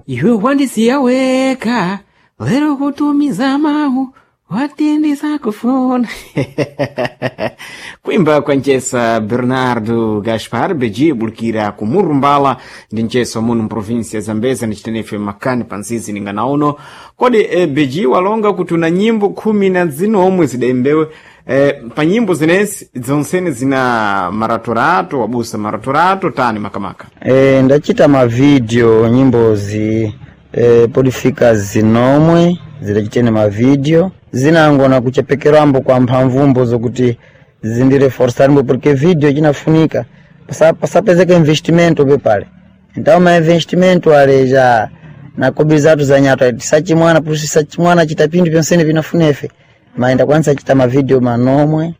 Iwe wandisiya weka lero kutumiza mawu watindisa kufuna. Kuimba kwa nchesa Bernardo Gaspar Beji bulukira kumurumbala ndi nchesa muno mprovinsia ya Zambeza ni chitenefe makani panzizi ninganaono kodi Beji walonga kuti una nyimbo 13 zidembewe pa nyimbo zinezi zonsene zina maratorato wabusa maratorato tani makamaka. Ndachita mavideo nyimbozi podifika zinomwe zidachitene mavideo zinangona kuchepekerambo kwa mphamvumbo zokuti zindireforsarimbo porque video chinafunika pasapezeka investimento pepale. Então ma investimento ale ja na kobiri zatu za nyato tisachimwana pusi tisachimwana chita pindu pyonsene pinafunefe ma ndakwanisa chita mavideo manomwe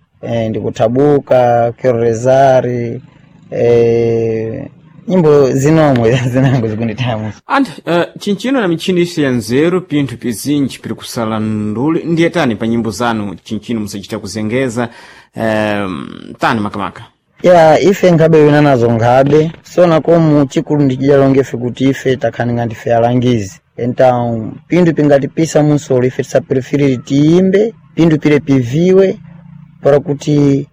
ndikuthabuka kerorezari nyimbo zinomwe zinango zikunditamu. Anthu chinchino na michini isi ya nzeru pinthu pizinji piri kusala nduli ndiye tani pa nyimbo zanu chinchino musachita kuzengeza tani makamaka. Ya ife nkhabe wina nazo nkhabe sona komu chikulu ndichidalongefe kuti ife takhaninga ndife alangizi então pindu pingatipisa munsolo ife tisaprefiriri tiyimbe pindu pile piviwe para kuti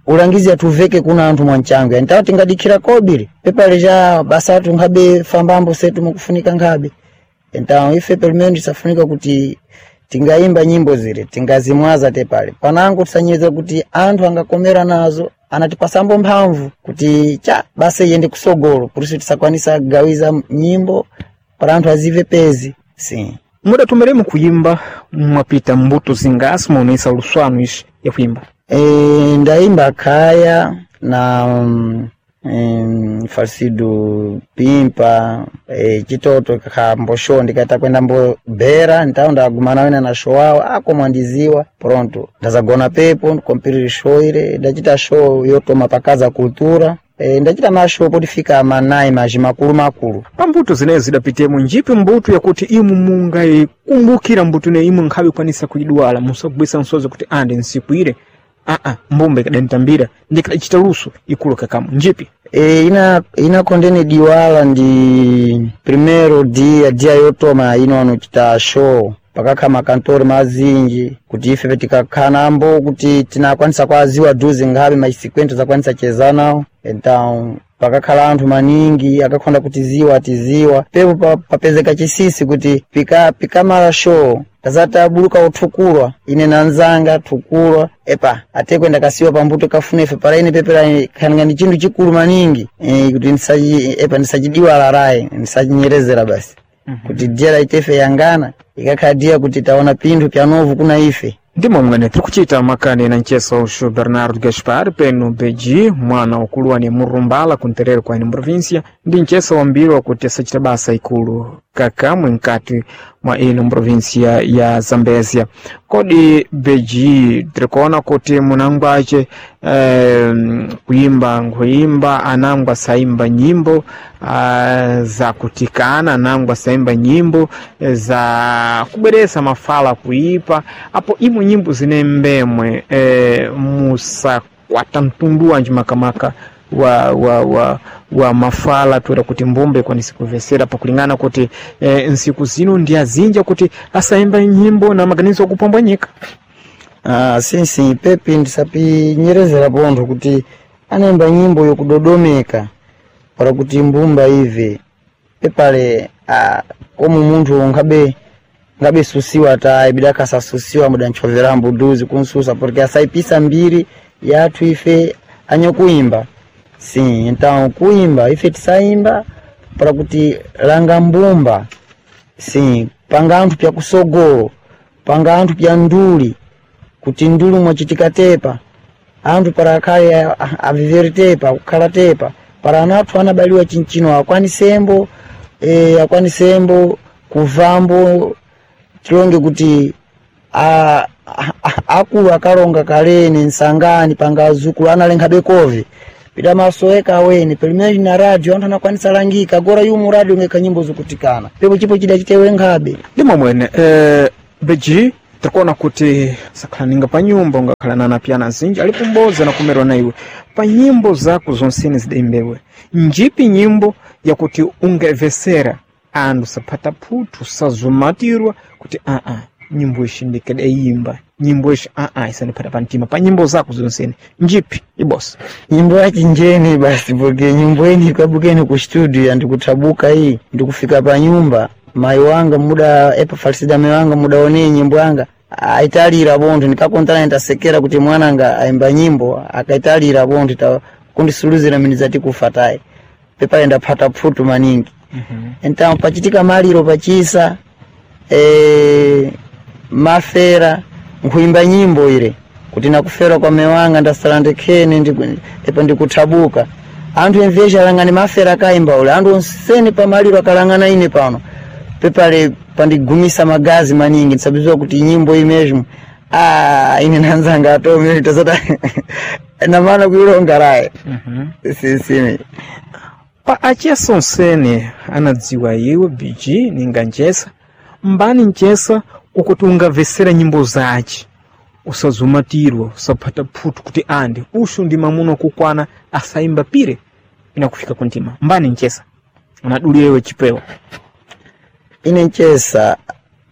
ulangizi atuveke kuna anthu mwanchangu então tingadikhira kobiri pepale ja basa athu nkhabe fambambo setu mukufunika nkhabe. Então ife pelo menos tisafunika kuti tingaimba nyimbo zile tingazimwaza tepale panango tisanyeza kuti anthu angakomera nazo anatipasambo mphamvu kuti cha basa iyende kusogolo puriso tisakwanisa kugawiza nyimbo para anthu azive pezi sim. Mudatumiremu kuyimba mwapita mbuto zingasi muonesa luswanu ishi ya kuyimba? Ndaimba kaya na falsido pimpa chitoto kakhambo ndikaita kwenda mbo bera ntawo ndagumana wena na show awo akomwandiziwa pronto ndazagona pepo ndikompiriri show ile ndachita show yotoma pakaza kultura ndachita mashow potifika manayi mazhi makulu makulu. Pa mbuto zinezo zidapitemo njipi mbuto yakuti imu mungayikumbukira mbuto ineyi imwe nkhabe kwanisa kuidwala musagwisa nsozi kuti ande nsiku ile aa mbumba ikadantambira ndikadachita luso ikulu kakamu njipi? Ina kondene diwala ndi primero dia dia yotoma ino anuchita show pakakha makantori mazinji kuti ife petikakhanambo kuti tinakwanisa kwaziwa duzi nkhabe machisekwento zakwanisa cheza nawo então pakakhala anthu maningi akakhonda kutiziwa atiziwa pepo papezeka chisisi kuti pikamala show tazati abuluka uthukulwa ine nanzanga thukulwa epa atekwe ndakasiwa pambuto kafunefe para ine pepera khaninga ndi chinthu chikulu maningi kuti epa ndisachidiwala rayi ndisachinyerezera basi. Kuti dia laitefe yangana ikakhala dia kuti taona pinthu pyanovu kuna ife. Ndimo mwene tiri kuchita makani na ncheso uxu Bernardo Gaspar peno Beji mwana ukuluwa ni murumbala kunterero kwa ino província ndi ncheso wambiri wakuti asachita basa ikulu kakamwe nkati mwa ino província ya Zambezia. Kodi Beji tirikuona kuti munangwace kuimba nkuimba anangwa saimba nyimbo za kutikana anangwa saimba nyimbo za kubweresa mafala kuipa apo imwe nyimbo zine mbemwe musakwata mtundu wanji makamaka wa mafala tuera kuti mbumba ikwanise kuvesera pakulingana kuti nsiku zino ndi azinja kuti asaimba nyimbo na maganizo akupombwanyika. Sinsi pepi ndisapinyerezera pontho kuti anaimba nyimbo yokudodomeka para kuti mbumba ive pepale komu munthu ngabe susiwa tayi bidakasasusiwa mudanchoverambo duzi kunsusa porque asaipisa mbiri yathu ife anyokuimba sim. Então kuimba ife tisaimba para kuti langa mbumba sim panga anthu pyakusogolo panga anthu pya nduli kuti nduli mwachitika tepa anthu para akhale aviveri tepa kukhala tepa para ana athu anabaliwa chinchino akwanisembo akwanisembo kuvambo tilonge kuti akulu akalonga kaleni nsangani panga azukulu analenghabe kovi pita masoeka aweni pelo menos na radio anthu anakwanisa langika agora yumu radio ngeka nyimbo zikutikana pepo chipo chida chitewe nkhabe. Ndimo mwene Beji Tikuona kuti sakhala ninga pa nyumba ungakhala na anapiyana azinji alipo m'bodzi anakumerwa na iwe pa nyimbo zako zonsene zidayimbewe, njipi nyimbo yakuti ungemvesera andu saphata phuthu sazumatirwa kuti aa nyimbo ishi ndikadayimba nyimbo ishi aa isandiphata pa mtima pa nyimbo zako zonsene njipi ibosa? Nyimbo ya chinjeni basi, porque nyimbo ini ikabukeni ku studio andikuthabuka iyi ndikufika pa nyumba mayi wanga muda epa falisida mayi wanga mudaonee nyimbo yanga aitalira bonthu, ndikakontana nitasekera kuti mwananga aimba nyimbo akaitalira bonthu ta kundisuluzira mini zati kufa tayi pepale ndaphata phutu maningi. Então pachitika maliro pachisa mafera nkuimba nyimbo ile kuti nakufera kwa mewanga ndasala ndekhene epo ndikuthabuka anthu emvesha alangani mafera akaimba ule anthu onsene pamaliro akalangana ine pano pepale pandigumisa magazi maningi ndisabiziwa kuti nyimbo imezmo ine nanzanga atome tasata namana kuilonga raye sisimi. Pa achesa onsene anadziwa iwe BG ninga njesa mbani njesa ukuti ungamvesera nyimbo zace usazumatirwa usaphata phutu kuti andi ushu ndi mamuna kukwana asayimba pire inakufika kuntima mbani nchesa anadulira iwe chipewa? Ine nchesa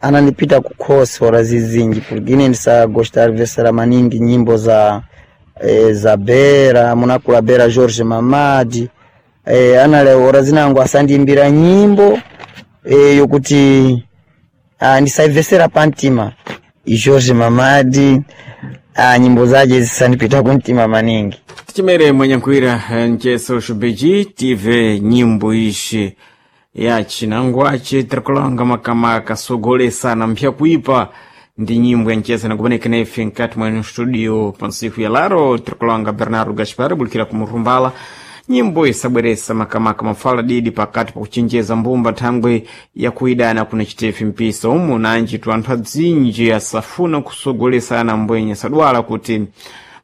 anandipita kukhosi ora zizinji porque ine ndisagostar vesera maningi nyimbo za za bera munakula bera George Mamadi anale ora zinango asandiimbira nyimbo yokuti ndisaivesera pantima. George Mamadi nyimbo zaje zisandipita kuntima maningi. Tichimere mwenyankhwira ncheso xubeji tive nyimbo ishi ya chinangwache tirikulanga makamaka sogolesana mpya kuipa ndi nyimbo ya nchesa nakuonekana ife nkati mwenu studio pa nsiku ya laro tirikulanga Bernardo Gaspar bulikira kumurumbala nyimbo isabweresa makamaka mafala didi pakati pakuchenjeza mbumba thangwe yakuidana kuna chitefi mpisa umu nanji tu anthu adzinji asafuna kusogolesana mbwenye sadwala kuti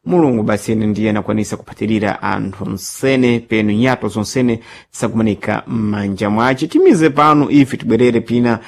Mulungu basi ene ndiye anakwanisa kuphatirira anthu nsene penu nyato zonsene sakumanika m'manja mwace. Timize pano ife tibwerere pina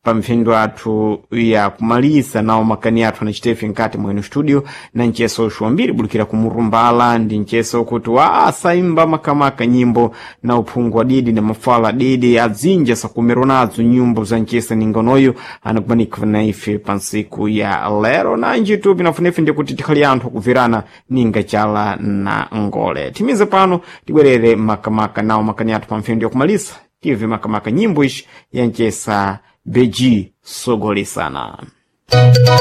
pa mphindo athu ya kumalisa nawo makani athu anachitefe nkati mwenu studio na ncheso uxu wambiri bulikira kumurumbala ndi ncheso kuti wa asaimba makamaka nyimbo na uphungu wa didi na mafala didi adzinja sakumerwa nadzo nyimbo za nchesa ningonoyo anakumanika na ife pa nsiku ya lero nanji tu pinafunefe ndikuti tikhali anthu akubverana ninga chala na ngole. Timize pano tibwerere makamaka nawo makani athu pa mphindo ya kumalisa tive makamaka nyimbo ishi ya nchesa Beji sogolesana.